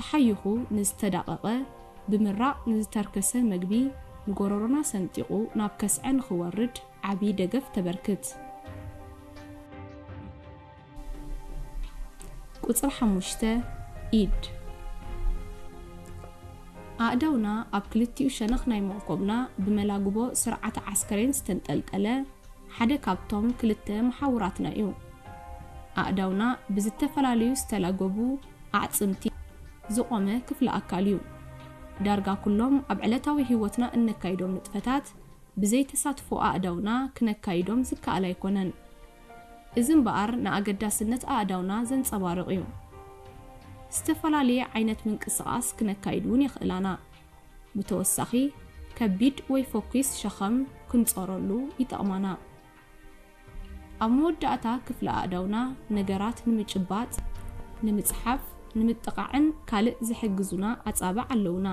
ሓይኹ ንዝተዳቐቐ፣ ብምራቕ ንዝተርከሰ መግቢ፣ ንጎረሮና ሰንጢቑ ናብ ከስዐ ንኽወርድ ዓቢ ደገፍ ተበርክት። ቁጽሪ ሓሙሽተ፣ ኢድ። ኣእዳውና ኣብ ክልቲኡ ሸነኽ ናይ መንኮብና ብመላግቦ ስርዓተ ዓስከሬን ዝተንጠልጠለ ሓደ ካብቶም ክልተ መሓውራትና እዩ። ኣእዳውና ብዝተፈላለዩ ዝተላገቡ ኣዕጽምቲ ዝቖመ ክፍሊ ኣካል እዩ። ዳርጋ ኩሎም ኣብ ዕለታዊ ህይወትና እነካይዶም ንጥፈታት ብዘይ ተሳትፎ ኣእዳውና ክነካይዶም ዝከኣል ኣይኮነን። እዚ እምበኣር ንኣገዳስነት ኣእዳውና ዘንጸባርቕ እዩ። ዝተፈላለየ ዓይነት ምንቅስቓስ ክነካይድ እውን የኽእላና። ብተወሳኺ፣ ከቢድ ወይ ፈኲስ ሸኸም ክንጾረሉ ይጠቕማና። ኣብ መወዳእታ ክፍሊ ኣእዳውና ነገራት ንምጭባጥ፣ ንምጽሓፍ፣ ንምጥቓዕን ካልእ ዝሕግዙና ኣጻብዕ ኣለውና።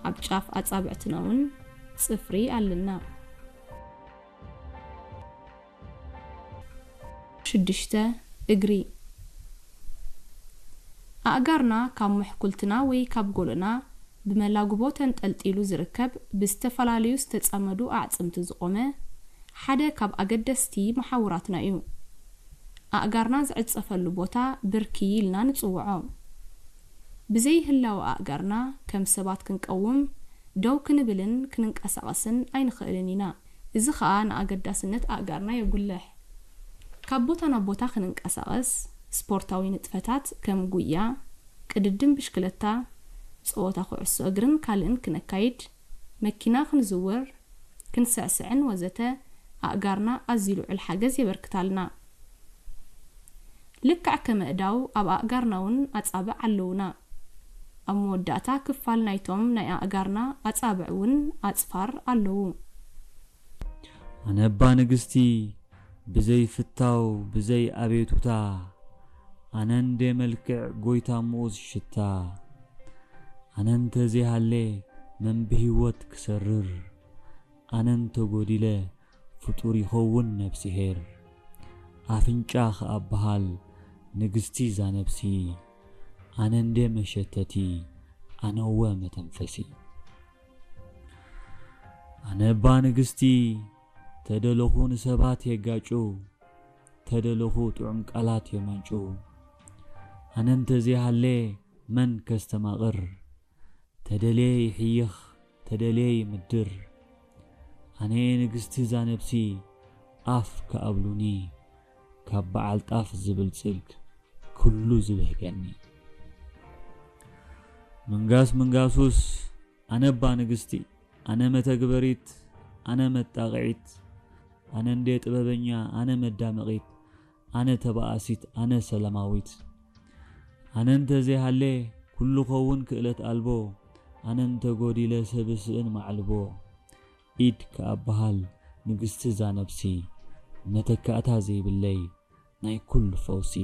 ኣብ ጫፍ ኣጻብዕትና እውን ጽፍሪ ኣለና። ሽዱሽተ፣ እግሪ። ኣእጋርና ካብ ምሕኩልትና ወይ ካብ ጎልና ብመላግቦ ተንጠልጢሉ ዝርከብ ብዝተፈላለዩ ዝተጸመዱ ኣዕጽምቲ ዝቖመ ሓደ ካብ ኣገደስቲ መሓውራትና እዩ። ኣእጋርና ዝዕጸፈሉ ቦታ ብርኪ ኢልና ንጽውዖ። ብዘይ ህላወ ኣእጋርና ከም ሰባት ክንቀውም፣ ደው ክንብልን ክንንቀሳቐስን ኣይንኽእልን ኢና። እዚ ኸኣ ንኣገዳስነት ኣእጋርና የጉልሕ። ካብ ቦታ ናብ ቦታ ክንንቀሳቐስ፣ ስፖርታዊ ንጥፈታት ከም ጉያ፣ ቅድድም ብሽክለታ፣ ጸወታ ኩዕሶ እግርን ካልእን ክነካይድ፣ መኪና ክንዝውር፣ ክንስዕስዕን ወዘተ ኣእጋርና ኣዝዩ ልዑል ሓገዝ የበርክታልና። ልክዕ ከም ኣእዳው ኣብ ኣእጋርና እውን ኣጻብዕ ኣለውና። ኣብ መወዳእታ ክፋል ናይቶም ናይ ኣእጋርና ኣጻብዕ እውን ኣጽፋር ኣለዉ። ኣነ እባ ንግስቲ ብዘይ ፍታው ብዘይ ኣቤቱታ፣ ኣነ እንደ መልክዕ ጎይታ ምኡዝ ሽታ። ኣነ እንተ ዘይሃለ መን ብህይወት ክሰርር፣ ኣነ እንተ ጎዲለ ፍጡር ይኸውን ነብስሄር። ኣፍንጫ ከኣ በሃል ንግስቲ እዛ ነብሲ፣ ኣነ እንደ መሸተቲ፣ ኣነ እወ መተንፈሲ። ኣነ እባ ንግስቲ ተደለኹ ንሰባት የጋጩ፣ ተደለኹ ጥዑም ቃላት የማንጩ። ኣነ እንተ ዘይሃለ መን ከስተማቕር፣ ተደልየ ይሕይኽ፣ ተደልየ ይምድር። ኣነ ንግስቲ እዛ ነብሲ ኣፍ ክኣብሉኒ፣ ካብ በዓል ጣፍ ዝብልጽግ ኩሉ ዝብህገኒ። ምንጋስ ምንጋሱስ ኣነ እባ ንግስቲ፣ ኣነ መተግበሪት፣ ኣነ መጣቕዒት፣ ኣነ እንዴ ጥበበኛ፣ ኣነ መዳመቒት፣ ኣነ ተባኣሲት፣ ኣነ ሰላማዊት። ኣነ እንተ ዘይሃለ ኩሉ ኸውን ክእለት ኣልቦ፣ ኣነ እንተ ጎዲለ ሰብ ስእን ማዕልቦ። ኢድ ከኣ በሃል ንግስቲ እዛ ነብሲ፣ መተካእታ ዘይብለይ ናይ ኩሉ ፈውሲ።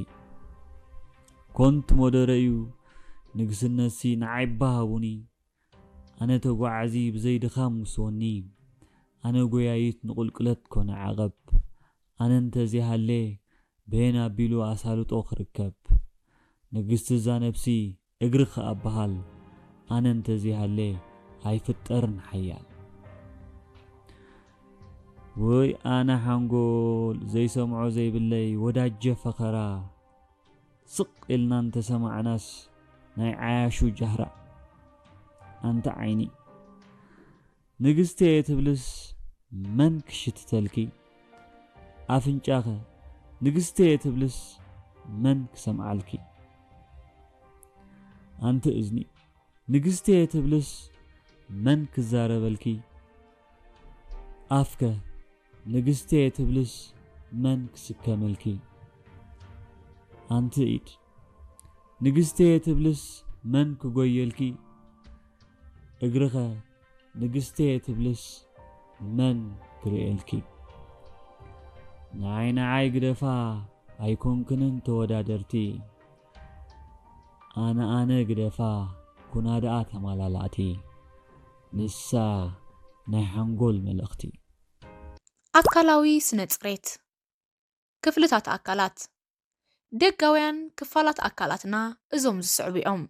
ኮንት ሞደረ እዩ ንግስነትሲ ንዓይ እባ ሃቡኒ። ኣነ ተጓዓዚ ብዘይ ድኻም ውስወኒ። ኣነ ጎያይት ንቁልቁለት ኮነ ዓቐብ። ኣነ እንተ ዘይሃለ በየን ኣቢሉ ኣሳልጦ ክርከብ። ንግስቲ እዛ ነብሲ እግሪ ከኣ በሃል። ኣነ እንተ ዘይሃለ ኣይፍጠርን ሓያል። ወይ ኣነ ሓንጎል ዘይሰምዖ ዘይብለይ ወዳጀ ፈኸራ። ስቕ ኢልና እንተሰማዕናስ ናይ ዓያሹ ጃህራ። ኣንቲ ዓይኒ ንግስቲ እየ ትብልስ መን ክሽትተልኪ? ኣፍንጫኸ ንግስቲ እየ ትብልስ መን ክሰምዓልኪ? ኣንቲ እዝኒ ንግስቲ እየ ትብልስ መን ክዛረበልኪ? ኣፍከ ንግስቲ እየ ትብልስ መን ክስከመልኪ? ኣንቲ ኢድ ንግስቲ እየ ትብልስ መን ክጎየልኪ? እግርኸ ንግስቲ እየ ትብልስ መን ክርእየልኪ? ንዓይ ንዓይ ግደፋ ኣይኮንክንን ተወዳደርቲ። ኣነ ኣነ ግደፋ ኩና ደኣ ተማላላእቲ። ንሳ ናይ ሓንጎል መልእኽቲ። ኣካላዊ ስነ ጽሬት። ክፍልታት ኣካላት። ደጋውያን ክፋላት ኣካላትና እዞም ዝስዕቡ እዮም።